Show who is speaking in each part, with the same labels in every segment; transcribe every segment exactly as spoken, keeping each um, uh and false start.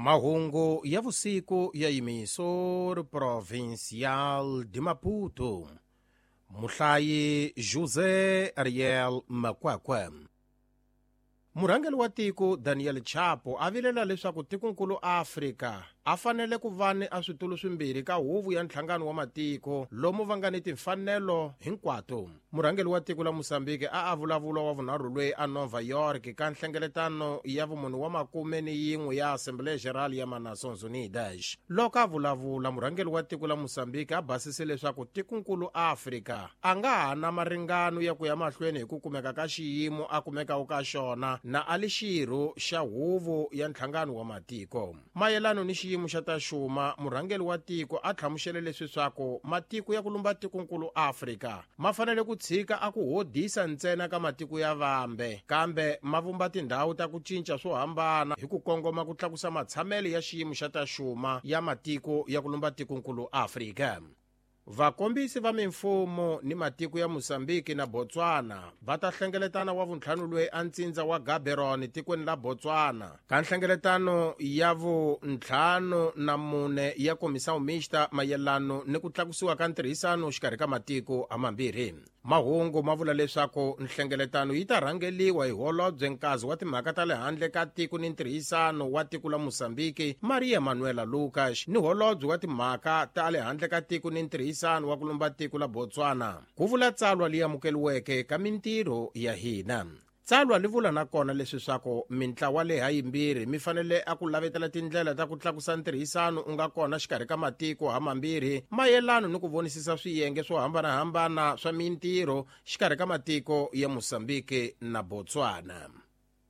Speaker 1: Mahungu ya vusiku ya Emissora Provincial de Maputo. Muhlayi José Ariel Makwakwa. Murhangeri wa tiko Daniel Chapo a vilela leswaku tikonkulu Afrika a fanele ku va ni a switulu swimbirhi ka huvo ya nhlangano wa matiko lomu va nga ni timfanelo hinkwato. Murhangeri wa tiko la Mozambique a a vulavula wa vunharhu loyi a Nova York ka nhlengeletano ya vumunhu wa makume ni yin'we ya Assembleia Geral ya Nações Unidas. Loko a vulavula, murhangeri wa tiko la Mozambique a basise leswaku tikonkulu Afrika a nga ha na maringano ya ku ya mahlweni hi ku kumeka ka xiyimo a kumekaka ka xona na a li xirho xa huvo ya nhlangano wa matiko. Mayelano ni xiyimo xa ta xuma, murhangeri wa tiko a hlamusele leswi swaku matiko ya ku lumba tikonkulu Afrika ma fanele ku tshika a ku hodisa ntsena ka matiko ya vambe, kambe ma vumba tindhawu ta ku cinca swo hambana hi ku kongoma ku tlakusa matshamelo ya xiyimo xa ta xuma ya matiko ya ku lumba tikonkulu Afrika. Vakombisi va mimfumo ni matiko ya Mozambique na Botswana va ta hlengeletana wa vuntlhanu loyi a ntsindza wa Gaborone tikweni la Botswana ka nhlengeletano ya vuntlhanu na mune ya Comissão Mixta mayelano ni ku tlakusiwa ka ntirhisano xikarhi ka matiko hamambirhi. Mahungu ma vula leswaku nhlengeletano yi ta rhangeliwa hi holobye nkazi wa timhaka ta le handle ka tiko ni ntirhisano wa tiko la Mozambique Maria Manuela Lucas ni holobye wa timhaka ta le handle ka tiko ni ntirhisano wa ku lumba tiko la Botswana. Ku vula tsalwa leyi amukeliweke ka mintirho ya hina. Tsalwa li vula nakona leswi swaku mintlawa leyi hayimbirhi mi fanele a ku lavetela tindlela ta ku tlakusa ntirhisano u nga kona xikarhi ka matiko hamambirhi mayelano ni ku vonisisa swiyenge swo hambanahambana swa mintirho xikarhi ka matiko ya Mozambique na Botswana.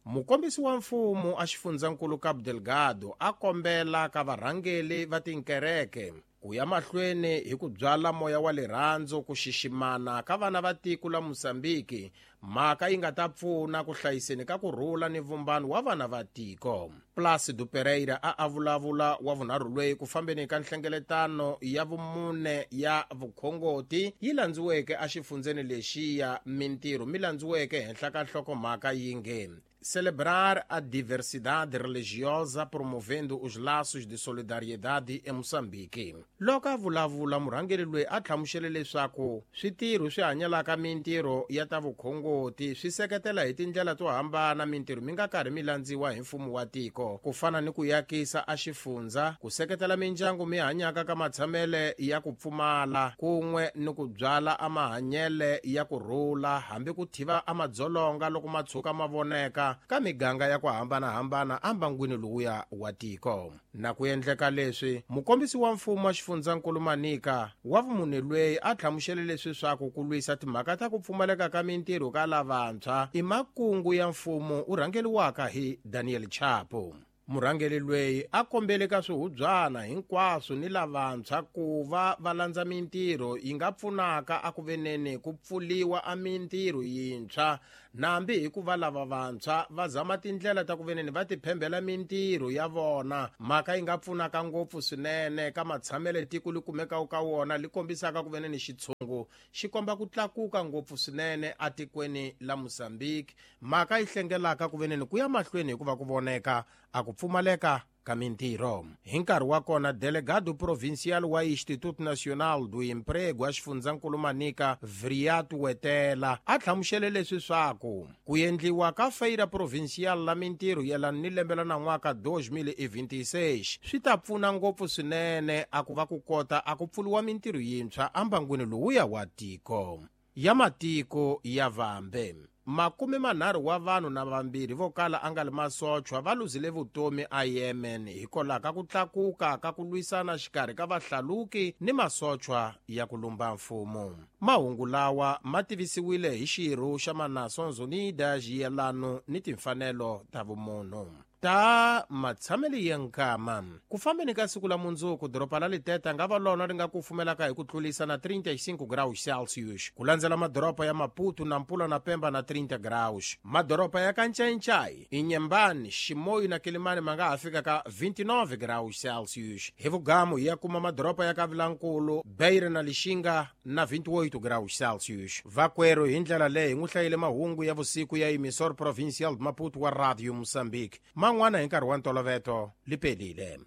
Speaker 1: Mukombisi wa mfumo a xifundzankulu Cabo Delgado a kombela ka varhangeli va tinkereke ku ya mahlweni hi ku byala moya wa rirhandzu ku xiximana ka vana va tiko la Mozambique, mhaka yi nga ta pfuna ku hlayiseni ka ku rhula ni vumbano wa vana va tiko. Plácido Pereira a a vulavula wa vunharhu loyi ku fambeni ka nhlengeletano ya vumune ya vukhongoti yi landziweke exifundzeni lexiya mintirho mi landziweke henhla ka nhlokomhaka yi nge Celebrar a diversidade religiosa promovendo os laços de solidariedade em Moçambique. Loko a vulavula, murhangeri loyi a hlamusele leswaku switirho swi hanyelaka mintirho ya ta vukhongoti swi seketela hi tindlela to hambana mintirho mi nga karhi mi landziwa hi mfumo wa tiko, ku fana ni ku yakisa a xifundza, ku seketela mindyangu mi hanyaka ka matshamele ya ku pfumala, kun'we ni ku byala a mahanyele ya ku rhula hambi ku thiva a madzolonga loko ma tshuka ma voneka ka miganga ya ku hambanahambana ambangwini lowuya wa tiko. Na ku endleka leswi, mukombisi wa mfumo wa xifundzankulu Manica wa vumunhu loyi a hlamusele leswi swaku ku lwisa timhaka ta ku pfumaleka ka mintirho ka lavantshwa i makungu ya mfumo u rhangeliwaka hi Daniel Chapo. Murhangeri loyi a kombele ka swihubyana hinkwaswo ni lavantshwa ku va va landza mintirho yi nga pfunaka a ku veneni ku pfuliwa a mintirho yintshwa, nambi hikuva lava vantshwa va zama tindlela ta ku veneni va tiphembela mintirho ya vona, mhaka yi nga pfunaka ngopfu swinene ka matshamelo tiko li kumekaka ka wona li kombisaka ku veneni xitshungu xi komba ku tlakuka ngopfu swinene atikweni la Mozambique, mhaka yi hlengelaka ku veneni ku ya mahlweni hikuva ku voneka a ku pfumaleka ka mintirho. Hi nkarhi wa kona, delegado provincial wa Instituto Nacional do Emprego a xifundzankulu Manica Vriatu Wetela a hlamusele leswi swaku ku endliwa ka feira provincial la mintirho yelana ni lembe la nan'waka dois mil e vinte e seis swi ta pfuna ngopfu swinene a ku va ku kota a ku pfuliwa mintirho yintshwa ambangwini lowuya wa tiko ya matiko ya vambe. Makume manharhu wa vanhu na vambirhi vo kala a nga li masochwa va luzile vutomi a Yemen hikwalaho ka ku tlakuka ka ku lwisana xikarhi ka vahlaluki ni masochwa ya ku lumba mfumo. Mahungu lawa ma tivisiwile hi xirho xa Nações Unidas yelano ni timfanelo ta vumunhu. Ta matshamelo ya nkama. Ku fambeni ka siku la mundzuku, doroba la Liteta nga va lona ri nga kufumelaka hi ku tlulisa na trinta e cinco graus Celsius, ku landzela madoroba ya Maputo, Nampula na Pemba na trinta graus. Madoroba ya Kanchenchai, Inhambane, Chimoio na Quelimane ma nga ha fika ka vinte e nove graus Celsius. Hi vugamu ya kuma madoroba ya Kavilankulu, Beira na Lixinga na vinte e oito graus Celsius. Vakwerhu hi ndlela leyi hi n'wi hlayile mahungu ya vusiku ya Emissora Provincial de Maputo wa Radio Moçambique. Man'wana hi nkarhi wa ntoloveto lipelile.